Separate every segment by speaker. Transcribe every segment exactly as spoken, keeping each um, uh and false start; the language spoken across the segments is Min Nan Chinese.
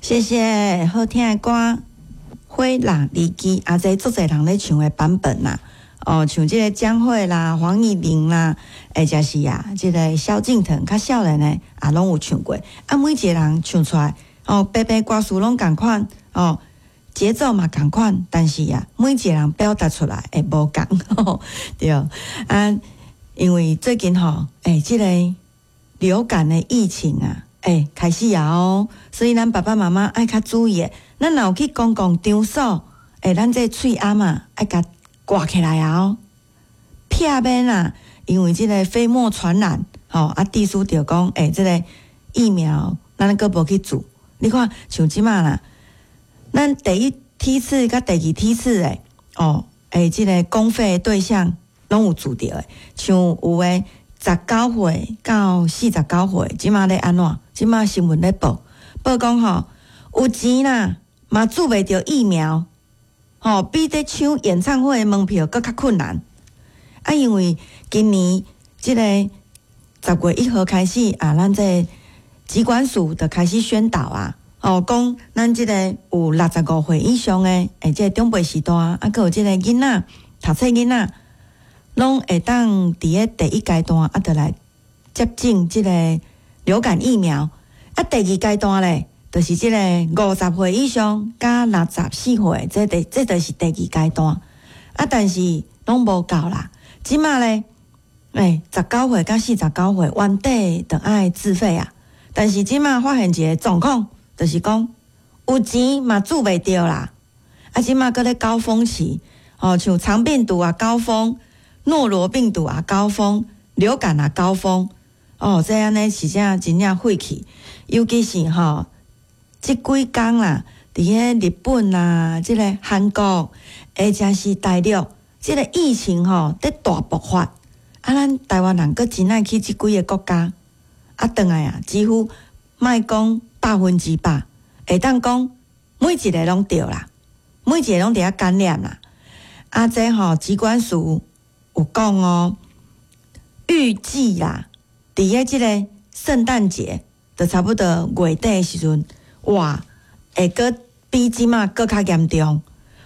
Speaker 1: 謝謝，好聽的歌《火辣離奇》，啊，這足濟人咧唱的版本啦。哦，像這個江蕙啦、黃義玲啦，或者是啊，這個蕭敬騰較少年的也攏有唱過。啊，每一個人唱出來，哦，白白歌詞攏仝款，哦，節奏嘛仝款，但是啊，每一個人表達出來會無仝，對。啊，因為最近吼，欸，這個流感的疫情啊，欸，開始啊哦，所以咱爸爸媽媽愛較注意的。咱若有去公共場所，欸，咱這喙罨啊，愛共掛起來啊哦，避免啊，因為這個飛沫傳染，吼啊，地書就講，欸，這個疫苗咱閣無去注，你看像這馬啦，咱第一梯次佮第二梯次的，哦，欸，這個公費對象攏有注著的，像有的十九歲到四十九歲，這馬咧按怎？這馬新聞咧報，報講吼，有錢啦，嘛注袂著疫苗。吼，比咧搶演唱會的門票閣較困難。啊，因為今年這個十月一號開始啊，咱這個疾管署就開始宣導啊，吼，講咱這個有六十五歲以上的，欸，這個長輩時代啊，閣有這個囡仔，讀冊囡仔，攏會當佇咧第一階段啊，就來接種這個流感疫苗。啊，第二階段咧，就是這個五十歲以上佮六十四歲，這第這就是第二階段。啊，但是攏無夠啦。這馬咧，欸，十九歲佮四十九歲，原底就愛自費啊。但是這馬發現一個狀況，就是講有錢嘛注袂著啦。啊，這馬閣咧高峰期，哦，像腸病毒啊高峰，諾羅病毒啊高峰，流感啊高峰，哦，這按呢是真真正血氣，尤其是吼。這幾工啦，佇彼日本啊，這個韓國，或者是大陸，這個疫情吼，佇大爆發。啊，咱台灣人閣真愛去這幾个國家，啊，轉來啊，幾乎莫講百分之百，會當講每一个攏著啦，每一个攏佇遐感染啦。啊，這吼疾管署有講哦，預計啦，佇咧這個聖誕節，就差不多月底的時陣。哇，會閣比這馬閣較嚴重，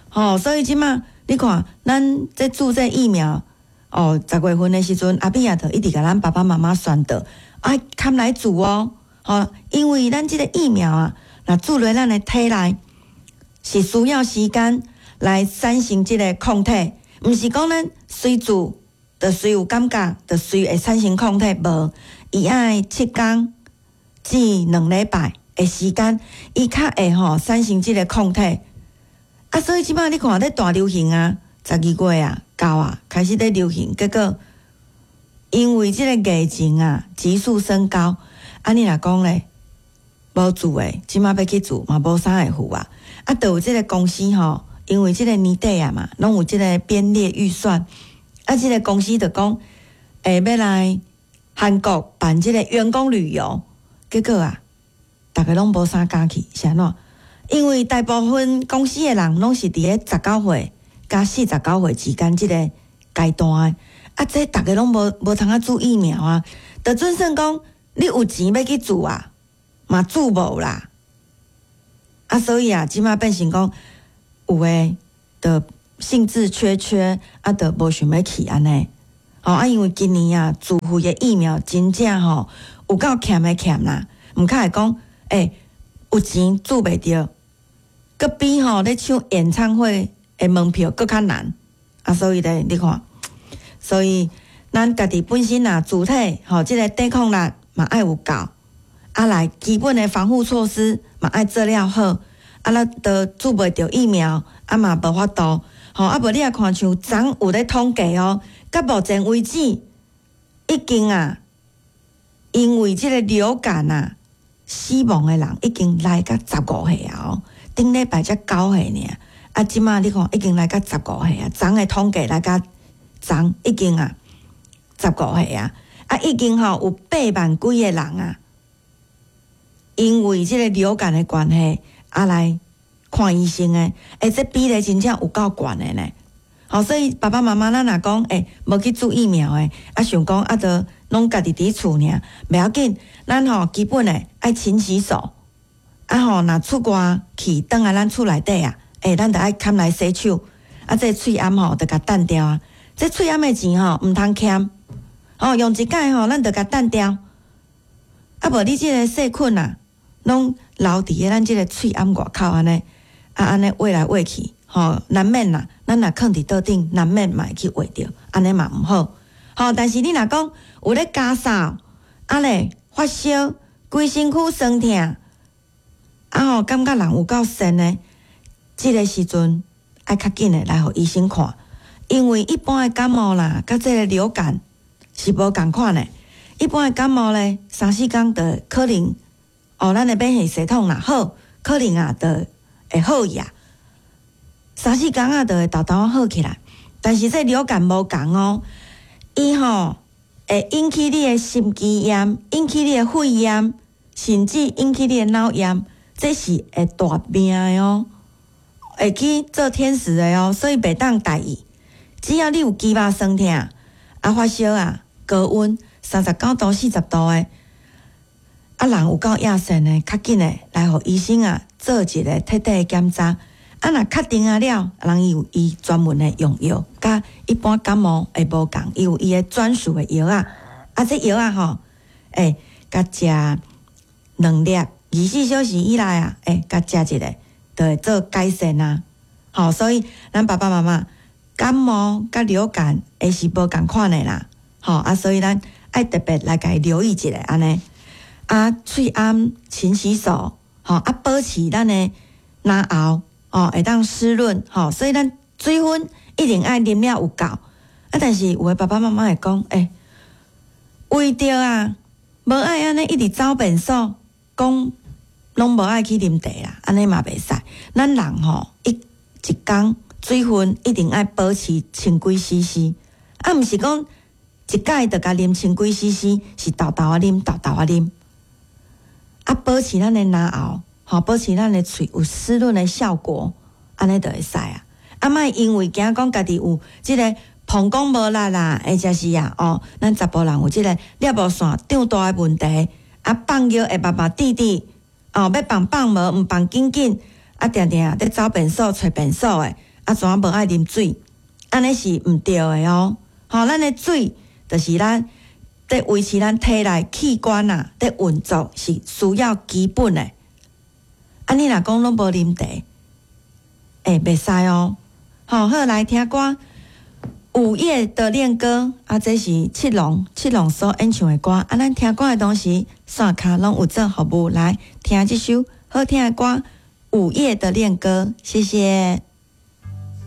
Speaker 1: 吼！所以這馬你看，咱這注這疫苗，哦，十月份的時陣，阿扁也就一直共咱爸爸媽媽宣導，愛崁來注哦，吼！因為咱這個疫苗啊，若注入咱的體內，是需要時間來產生這個抗體，毋是講咱隨注就隨有感覺，就隨會產生抗體，無，伊愛七工至兩禮拜的時間，伊較會吼產生這個抗體。啊，所以這馬你看咧大流行啊，十二月啊到啊開始咧流行，結果因為這個疫情啊急速升高，啊你若講咧無注的，這馬欲去注嘛無啥會赴啊。啊，就有這個公司吼，因為這個年底啊嘛，攏有這個編列預算，啊，這個公司就講，會欲來韓國辦這個員工旅遊，結果啊，逐家攏無啥敢去，是按怎？因為大部分公司的人攏是佇咧十九歲佮四十九歲之間這個階段的，啊，這逐家攏無無通啊注疫苗啊，就準算講你有錢欲去注啊，嘛注無啦。啊，所以啊，這馬變成講有的就興致缺缺，啊，就無想欲去按呢。吼啊，因為今年啊，自費的疫苗真正吼有夠欠的欠啦，毋較會講，欸，有錢注袂著，閣比吼咧搶演唱會的門票閣較難。啊，所以咧，你看，所以咱家己本身啊，主體吼，這個抵抗力嘛愛有夠，啊來基本的防護措施嘛愛做了好，啊咱都注袂著疫苗，啊嘛無法度，吼啊無你也看像昨有咧統計哦，到目前為止已經啊，因為這個流感啊，死亡的人已經來到十五歲啊！哦，頂禮拜才九歲爾，啊，這馬你看已經來到十五歲啊，昨的統計來到昨已經啊十五歲啊，啊，已經吼有八萬幾個人啊，因為這個流感的關係啊來看醫生的，欸，這比例真正有夠懸的呢。吼，所以爸爸媽媽咱若講，欸，無去注疫苗的，啊，想講啊，就攏家己佇厝爾，袂要緊，咱吼基本的愛勤洗手，啊吼，若出外去，轉來咱厝內底啊，欸，咱著愛坎來洗手。啊，這喙罨吼，著共擲掉啊。這喙罨的錢吼，毋通儉。哦，用一擺吼，咱著共擲掉。啊，無你這个細菌啊，攏留佇咧咱這个喙罨外口按呢，啊按呢畫來畫去，吼，難免啦。咱若囥佇桌頂，難免嘛會去畫著，按呢嘛毋好。吼，但是你若講有咧咳嗽，啊咧發燒，規身軀酸疼，啊吼，感覺人有夠瘳的，這个時陣愛較緊的來予醫生看，因為一般的感冒啦，佮這个流感是無仝款的。一般的感冒咧，三四工就可能哦，咱的免疫系統若好，可能啊就會好去啊。三四工啊，就會沓沓好起來。但是這流感無仝哦，伊吼會引起你的心肌炎，引起你的肺炎，甚至引起你的腦炎，這是會大命的哦，會去做天使的哦，所以袂當大意。只要你有肌肉痠疼，啊發燒啊，高溫三十九度、四十度的，啊人有夠亞瘳的，較緊的來予醫生啊做一个徹底的檢查。啊，若確定啊了，人伊有伊專門的用藥，佮一般感冒會無仝，伊有伊的專屬的藥仔。啊，這藥仔吼，欸，共食兩粒，二十四小時以內啊，欸，共食一下，就會做改善啊。吼，所以咱爸爸媽媽感冒佮流感會是無仝款的啦。吼啊，所以咱愛特別來共伊留意一下按呢。啊，喙罨勤洗手，吼啊，保持咱的嚨喉。哦，會當濕潤，吼，所以咱水分一定愛啉了有夠。啊，但是有的爸爸媽媽會講，欸，為著啊，無愛按呢一直走便所，講攏無愛去啉茶啦，按呢嘛袂使。咱人吼一一工水分一定愛保持千幾 C C，啊，毋是講一擺就共啉千幾 C C，是沓沓仔啉，沓沓仔啉。啊，保持咱的嚨喉。吼，保持咱的喙有濕潤的效果，按呢就會使啊。啊，莫因為驚講家己有這个膀胱無力啦，或者是啊，哦，咱查埔人有這个尿布腺脹大的問題，啊，放尿會目目滴滴，哦，欲放放無，毋放緊緊，啊，定定佇走便所、揣便所的，啊，怎無愛啉水？按呢是毋對的哦。吼，咱的水就是咱佇維持咱體內器官啊，佇運作是需要基本的。啊，你若講攏無啉茶，欸，袂使哦。好，好來聽歌，《午夜的戀歌》啊，這是七龍七龍所演唱的歌。啊，咱聽歌的同時，線跤攏有做服務，來聽這首好聽的歌《午夜的戀歌》，謝謝。